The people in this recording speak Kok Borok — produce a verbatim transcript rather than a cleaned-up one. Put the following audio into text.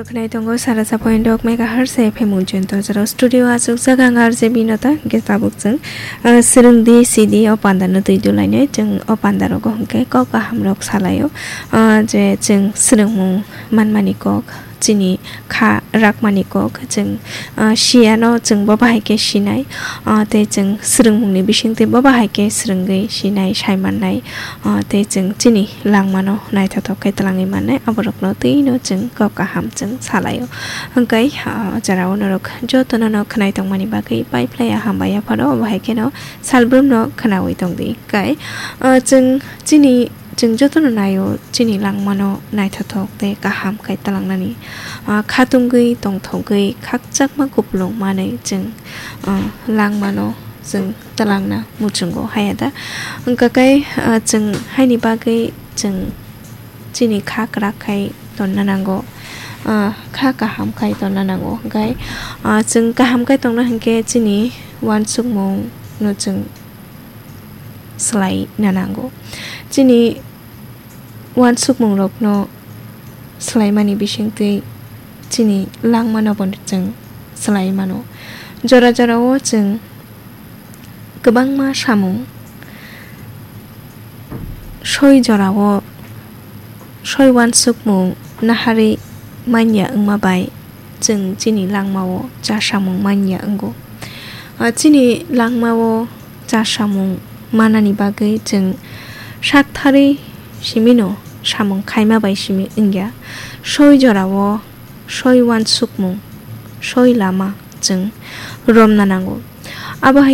Khwnai tongo sara sa point dok megahertz F M unchon torjaro studio achuk jaga ang R J Binota hwnkhe tabuk chwng, ah, swrwng di sidi o panda no twi dulainai chwng o panda rogo hwnkhe kok kaham rok salaio, ah, je chwng swrwngmung manmani kok chini kha rakmani kok chwng, ah, siyano chwng bo bahai khe sinai, ah, tei chwng swrwngmungni bisingtwi bo bahai khe swrwngwi sinai sai mannai. Ah, tei chwng chini langmano naithothok khe twlangwi mannai, aborokno twino chwng kok kaham chwng salaio. Hwnkhe, ah, o jorao norok jotono no khwnai tongmani bagwi pai phlai ya hambai ya phano, obo hai kheno salbrumno khwnaui tongdi. Hwnkhe, ah, chwng chini, chwng jotono naio chini langmano naithothok tei kaham khai twlangnani, ah, khatungwi tongthogwi khakchangma kupulung manwi chwng, ah, langmano chwng twlangna muchungo haya da. Hwnkhe, ah, chwng haini bagwi chwng chini kha kwrak khai tonna nango, ah, kha kaham khai tonna nango. Hwnkhe, ah, chwng kaham khai tongna hwnkhe chini uansukmung no chwng swlai na nango. Chini uansukmung rokno swlaimani bisingtwi chini langmano bo chwng swlai mano. Jora jorao chwng kwbangma samung soi jorao soi uansukmung naharwi manya wngma bai chwng chini langmao cha samung manya wngo. Ah, chini langmao cha samung manani bagwi chwng saktharwi simino samung khaima bai simi wngya. Soi jorao soi uansukmung, soi lama chwng romna nango. Abo hai